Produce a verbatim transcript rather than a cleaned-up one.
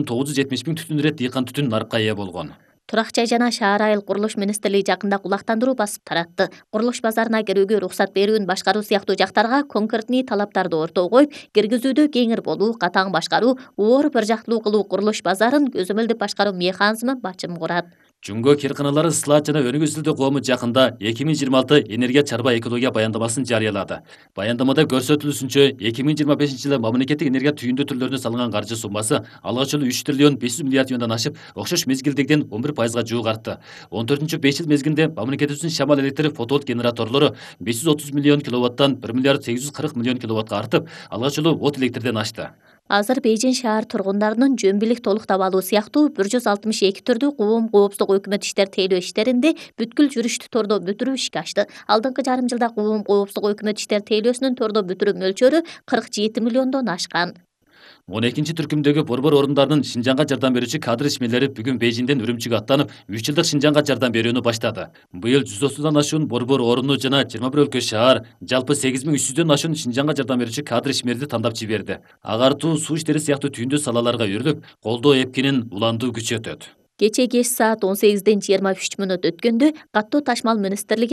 тогуз жүз жетимиш миң түтүн ирет дыйкан түтүн нарыкка ээ болгон. Турак жай жана шаар айыл курулуш министрлиги жакында кулактандыруу басып таратты. Курулуш базарына кирүүгө уруксат берүүнү башкаруу сыяктуу жактарга конкретный талаптарды ортого коюп, киргизүүдө кеңир болуу, катаң башкаруу, оор бир жактылуу кылуу курулуш базарын көзөмөлдү башкаруу механизми бачым курат. Жумго кирканалары Слат жана Өнүгүүчүлөр коому жакында эки миң жыйырма алты энергия чарба экология баяндамасын жарыялады. Баяндамада көрсөтүлүшүнчө эки миң жыйырма бешинчи жылы мамлекеттик энергия түйүндү түрлөрүнө салынган каржы суммасы алгач эле үч триллион беш жүз миллиард юандан ашып, окшош мезгилдегиден он бир пайызга жуук артты. он төртүнчү беш жыл мезгилинде мамлекетибиздин шамал электр фотоволт генераторлору беш жүз отуз миллион киловаттан бир миллиард сегиз жүз кырк миллион киловаттка артып, алгач эле от электрден ашты. Азыр Бейжин шаар тургундарынын жөн-бийлик толуктап алуу сыяктуу бир жүз алтымыш эки түрдүү коом коопсуздук өкмөт иштер тейлөө иштеринде бүткүл жүрүштү тордо бүтүрүү ишке ашты. Алдыңкы жарым жылда коом коопсуздук өкмөт иштер тейлөөсүнүн тордо бүтүрүү мөлчөрү кырк жети миллиондон ашкан. он экинчи түркүмдөгү борбор орундарынын Шинжаңга жардам берүүчү кадр ишмерлери бүгүн Бейжиңден Үрүмчүгө аттанып, үч жылдык Шинжаңга жардам берүүнү баштады. Быйыл жүз отуздан ашуун борбор оруну жана жыйырма бир өлкө шаар, жалпы сегиз миң үч жүздөн ашуун Шинжаңга жардам берүүчү кадр ишмерди тандап жиберди. Агартуу, суу иштери сыяктуу түйүндүү салаларга өрлөп, колдоо эпкинин уланду күчөтөт. Кечээ кеч саат он сегизден жыйырма үч мүнөт өткөндө каттуу ташмал министрлигинин